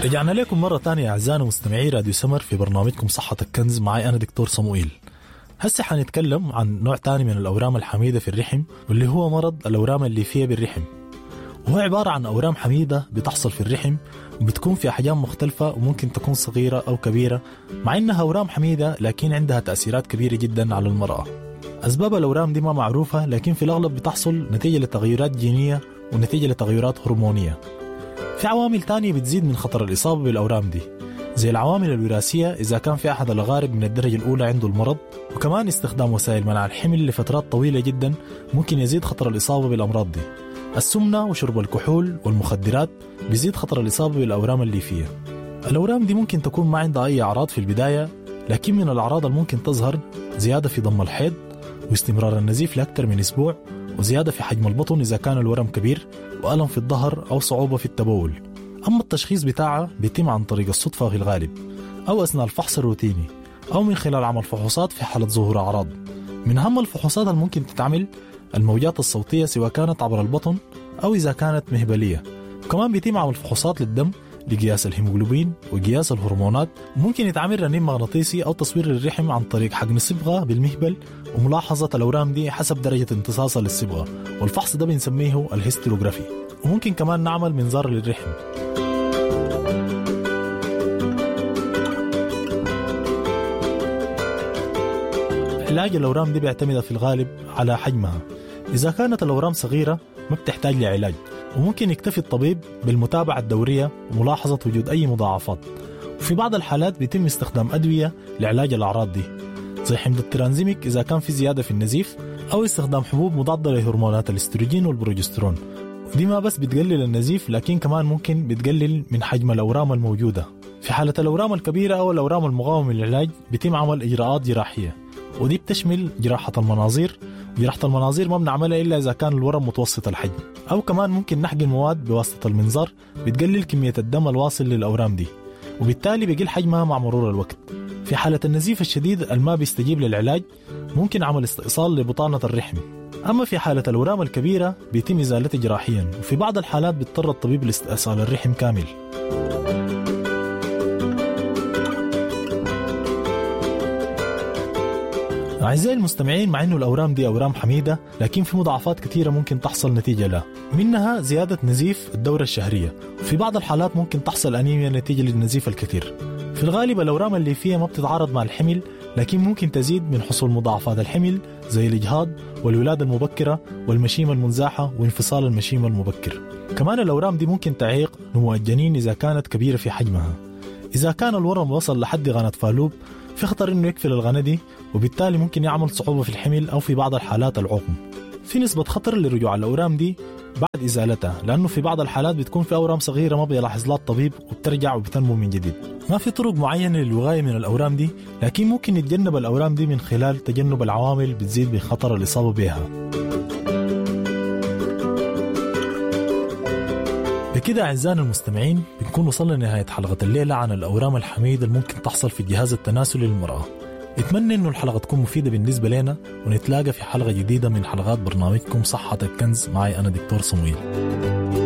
رجعنا لكم مرة تانية أعزائنا مستمعي راديو سمر في برنامجكم صحتك كنز، معي أنا دكتور صموئيل. هسه حنتكلم عن نوع تاني من الأورام الحميدة في الرحم، واللي هو مرض الأورام الليفية بالرحم. وهو عبارة عن أورام حميدة بتحصل في الرحم، وبتكون في أحجام مختلفة وممكن تكون صغيرة أو كبيرة، مع إنها أورام حميدة لكن عندها تأثيرات كبيرة جدا على المرأة. أسباب الأورام دي ما معروفة، لكن في الأغلب بتحصل نتيجة لتغيرات جينية ونتيجة لتغيرات هرمونية. في عوامل تانية بتزيد من خطر الإصابة بالأورام دي، زي العوامل الوراثية إذا كان في أحد الأقارب من الدرجة الأولى عنده المرض، وكمان استخدام وسائل منع الحمل لفترات طويلة جدا ممكن يزيد خطر الإصابة بالأمراض دي. السمنة وشرب الكحول والمخدرات بيزيد خطر الإصابة بالأورام الليفية. الأورام دي ممكن تكون ما عندها أي أعراض في البداية، لكن من الأعراض الممكن تظهر زيادة في ضم الحيض واستمرار النزيف لأكثر من أسبوع، وزيادة في حجم البطن إذا كان الورم كبير، وألم في الظهر أو صعوبة في التبول. أما التشخيص بتاعها بيتم عن طريق الصدفة في الغالب، أو أثناء الفحص الروتيني، أو من خلال عمل فحوصات في حالة ظهور أعراض. من أهم الفحوصات الممكن تتعمل الموجات الصوتية، سواء كانت عبر البطن أو إذا كانت مهبلية. وكمان بيتم عمل فحوصات للدم لقياس الهيموغلوبين وقياس الهرمونات. ممكن يتعمل رنين مغناطيسي أو تصوير للرحم عن طريق حقن الصبغة بالمهبل وملاحظة الأورام دي حسب درجة امتصاصها للصبغة، والفحص ده بنسميه الهستيروغرافي. وممكن كمان نعمل منظار للرحم. علاج الأورام دي بيعتمد في الغالب على حجمها. إذا كانت الأورام صغيرة ما بتحتاج لعلاج، وممكن يكتفي الطبيب بالمتابعة الدورية وملاحظة وجود أي مضاعفات. وفي بعض الحالات بيتم استخدام أدوية لعلاج الأعراض دي، زي حمض الترانزيميك إذا كان في زيادة في النزيف، أو استخدام حبوب مضادة لهرمونات الاستروجين والبروجسترون. دي ما بس بتقلل النزيف، لكن كمان ممكن بتقلل من حجم الأورام الموجودة. في حالة الأورام الكبيرة أو الأورام المقاومة للعلاج بيتم عمل إجراءات جراحية، ودي بتشمل جراحة المناظير. جراحة المناظير ما بنعملها إلا إذا كان الورم متوسط الحجم، أو كمان ممكن نحقن مواد بواسطة المنظار بتقلل كمية الدم الواصل للأورام دي، وبالتالي بيقل حجمها مع مرور الوقت. في حالة النزيف الشديد الما بيستجيب للعلاج ممكن عمل استئصال لبطانة الرحم. أما في حالة الأورام الكبيرة بيتم إزالتها جراحيا، وفي بعض الحالات بيضطر الطبيب لاستئصال الرحم كامل. أعزائي المستمعين، مع أنه الأورام دي أورام حميدة، لكن في مضاعفات كثيرة ممكن تحصل نتيجة لها، منها زيادة نزيف الدورة الشهرية. وفي بعض الحالات ممكن تحصل أنيميا نتيجة للنزيف الكثير. في الغالب الأورام الليفية ما بتتعارض مع الحمل، لكن ممكن تزيد من حصول مضاعفات الحمل زي الإجهاض والولادة المبكرة والمشيمة المنزاحة وانفصال المشيمة المبكر. كمان الأورام دي ممكن تعيق نمو الجنين إذا كانت كبيرة في حجمها. إذا كان الورم وصل لحد غنة فالوب في خطر إنه يقفل الغنة دي، وبالتالي ممكن يعمل صعوبة في الحمل أو في بعض الحالات العقم. في نسبة خطر لرجوع الأورام دي بعد إزالتها، لأنه في بعض الحالات بتكون في أورام صغيرة ما بيلاحظ لها الطبيب وبترجع وبتنمو من جديد. ما في طرق معينة للوقاية من الأورام دي، لكن ممكن نتجنب الأورام دي من خلال تجنب العوامل بتزيد بخطر الإصابة بها. بكده أعزائنا المستمعين بنكون وصلنا لنهاية حلقة الليلة عن الأورام الحميدة اللي ممكن تحصل في الجهاز التناسلي للمرأة. أتمنى إنه الحلقة تكون مفيدة بالنسبة لنا، ونتلاقى في حلقة جديدة من حلقات برنامجكم صحتك كنز. معي أنا دكتور صمويل.